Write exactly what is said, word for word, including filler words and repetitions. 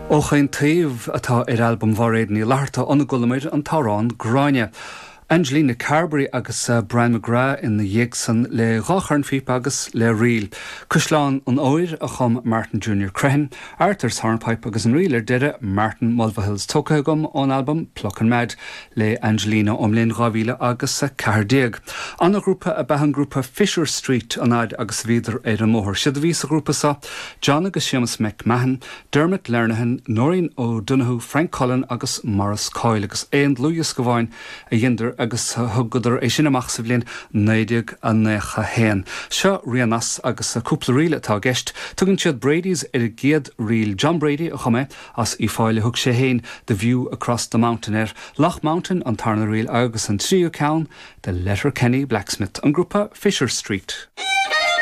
Ó Chaon Taobh atá ar albam Mhairéad Ní Fhlatharta óna gcualamar an t-amhrán Gráinne. Angelina Carberry agus uh, Brian McGrath ina dhiaidh san le dhá chornphíopa agus le ríl. Caisleán an Óir a chum Martin Junior Crehan, Arthur's Hornpipe agus an ríl ar deireadh Martin Mulvihill's tógtha agam ón albam Pluckin' Mad le Angelina ón mbliain dhá mhíle agus a ceathair déag. An-ghrúpa ab ea an grúpa Fisher Street an fhad agus bhíodar ar an mbóthar. Siad a bhí sa ghrúpa seo John agus Seamus McMahon, Dermot Lernihan, Noreen O'Donoghue, Frank Cullen agus Maurice Coyle agus aon dlúthdhiosca amháin a dheineadar agus thugadar é sin amach sa bhliain naoi déag nócha haon. Seo rian as agus cúpla ríl atá i gceist. Tugann siad Brady's ar an gcéad ríl John Brady a chum é as Uíbh Fhailí thug sé féin The View Across the Mountain air. Loch Mountain an tarna ríl agus an tríú ceann The Letterkenny Blacksmith an grúpa Fisher Street.